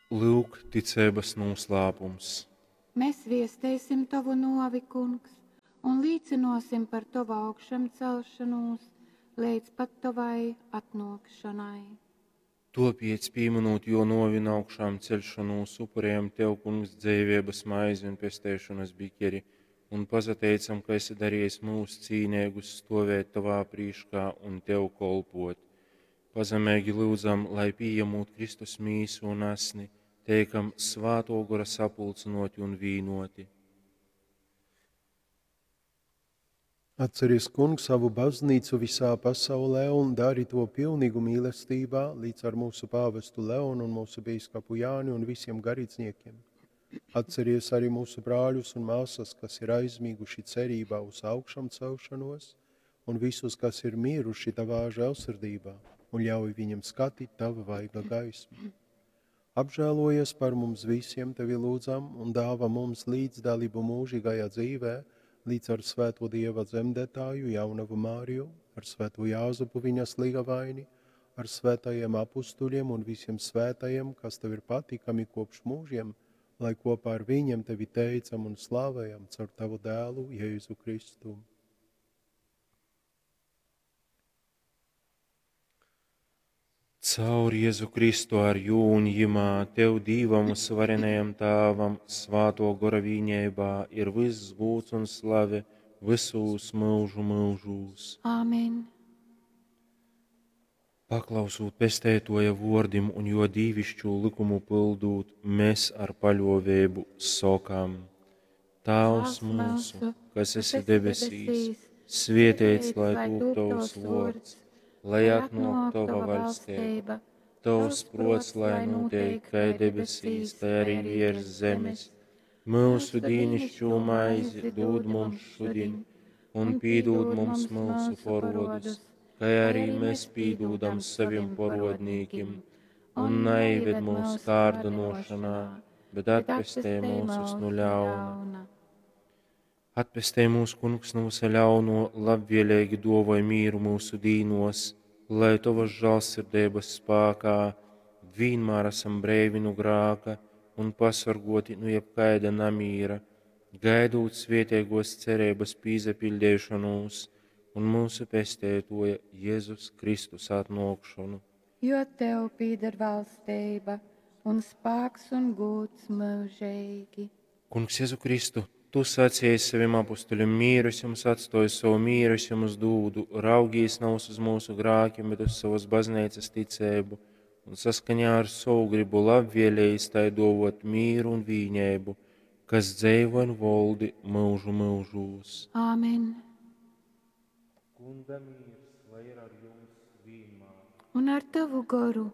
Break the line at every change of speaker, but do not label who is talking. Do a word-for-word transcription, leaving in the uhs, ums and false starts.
Lyuk, ticeibas nūslāpums.
Mēs viesteisim tovu nōvi, Kungs, un līcynōsim par tovu augšamcelšonūs leidz pat tovai atnōkšonai.
Tōpēc, pīmynūt jō nōvi un augšāmceļšonūs, upurejam Tev, Kungs, dzeiveibas maizi un pesteišonas bikeri un pasateicam, ka esi darejis myus cīneigus stōvēt Tovā prīškā un Tev kolpōt. Pazemeigi lyudzam, lai pījemūt Kristus mīsu un asni, teikam Svātō Gora sapulcynōti un vīnōti.
Atceries, Kungs, savu baznīcu visā pasaulē un dari to pilnīgu mīlestībā līdz ar mūsu pāvestu Leonu un mūsu bīskapu Jāni un visiem garīdzniekiem. Atceries arī mūsu brāļus un māsas, kas ir aizmiguši cerībā uz augšām celšanos, un visus, kas ir miruši tavā žēlsirdībā, un ļauj viņiem skatīt tava vaiga gaismu. Apžēlojies par mums visiem, tevi lūdzam, un dāvā mums līdzdalību mūžīgajā dzīvē, līdz ar svēto Dieva dzemdētāju jaunavu Māriju, ar svēto Jāzepu viņas līgavaini, ar svētajiem apustuļiem un visiem svētajiem, kas tev ir patīkami kopš mūžiem, lai kopā ar viņiem tevi teicam un slavējam caur tavu dēlu Jēzu Kristu.
Caur Jēzu Kristu ar jū un jimā, Tev Dīvam un varenajam Tāvam, Svāto Gora vīņeibā ir viss gūds un slave visūs mūžu mūžūs.
Āmen.
Paklausūt pestētoja vordim un jo dīvišķū likumu pildūt, mēs ar paļovēbu sokam: Tāvs mūsu, kas esi debesīs, svietēts lai tūp tavs vords, lai atnāk tava vaļstība, tavs prots, lai notiek kai debesīs, tai arī virs zemes. Mūsu dīnišķo maizi dod mums šodien, un pīdod mums mūsu porodus, kai arī mēs pīdūdam saviem porodnīkim, un neived mūsu kārdinošanā, bet atpestē mūsus no ļauna. Atpestē mūs, Kungs, no visa ļauno, labvēlīgi dovoj mīru mūsu dīnos, lai tavas žēlsirdības spēkā vienmēr esam breivi no grāka un pasargoti no jebkaida namīra, gaidot svētīgos cerības pīzapildīšanos un mūsu pestētoja Jēzus Kristus atnākšanu.
Jo tev pīder valstība un spēks un gūds mūžīgi.
Kungs Jēzu Kristu, tu sacīji saviem apustuļiem, mieru es jums atstoju, savu mieru es jums dūdu, raugīs nav uz mūsu grākiem, bet uz savas baznīcas ticēbu, un saskaņā ar savu gribu labvēlējis tai dovot mīru un vīņēbu, kas dzeivo un voldi mūžu mūžūs.
Āmen.
Kunga mīrs, lai ir ar jums vienmēr.
Un ar tavu goru.